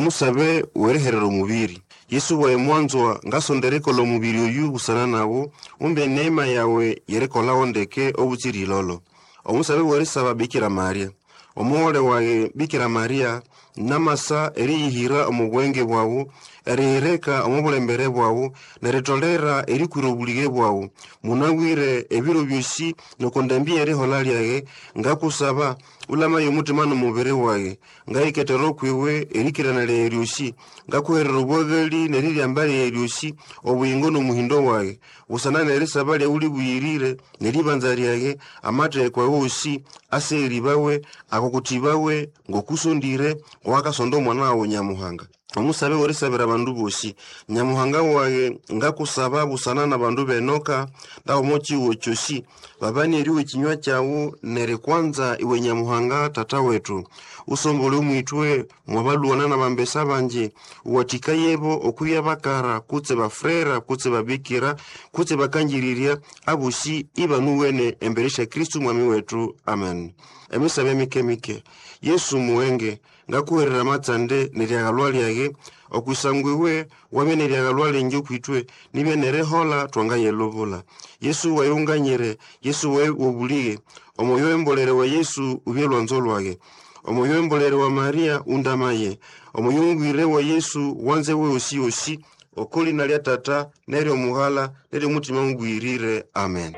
Omusabe w'eriherera omubiri. Yesu waye mwanzwa, ngasonda erikola omubiri oyu busana nawu, umbe eneema yawe y'erikolawo ndeke obutsira ilolo. Omusabe w'erisaba Bikira Maria. Omughole wage Bikira Maria, namasa eriyihira omo bwenge bwawu, eriyireka omo bulembere bwawu, neritolera erikwira obulige bwawu. Munabwire ebiro byosi noko ndambi y'erihola lyage, ngakusaba ulamaye omutima n'omubiri wage. Ngayiketera okwiwe erikirana lyage lyosi, ngakuherera obwagali n'eriryamba lyage lyosi, obuyingo n'omuhindo wage. Busana n'erisaba lyawu libuyirire, n'eribanza lyage, amatheko agosi asegeribawe, akokutibawe ng'okusondire, owakasonda omwana wawu Nyamuhanga. Omusabe w'erisabira abandu bosi. Nyamuhanga wage, ngakusaba busana n'abandu b'enoka, ndaomo kihugo kyosi, babane eryowa ekinywa kyawu n'erikwanza iwe Nyamuhanga Tata wetu. Usombole omw'ithwe mwabalwana n'abambesa bangi, uwathikayebo okwibya bakara kutse bafrera kutse babikira kutse bakangirirya, abosi ibanuwene embere sya Kristo Mwami wetu. Amen. Emisabe mike-mike. Yesu muwenge, ngakuherera amatsande n'eryagalwa lyage, okwisangwa iwe wabya n'eryagalwa lingi okw'ithwe, nibya n'erihola twangayelubula. Yesu waye unganyire, Yesu waye wobulige, omwoyo w'embolere wa Yesu ubye lwanzo lwage. Omwoyo w'embolere wa Maria undamaye, omwoyo mubwire wa Yesu wanze we osi-osi, oko lina lya Tata n'ery'Omughala n'ery'Omutima Mubwirire. Amen.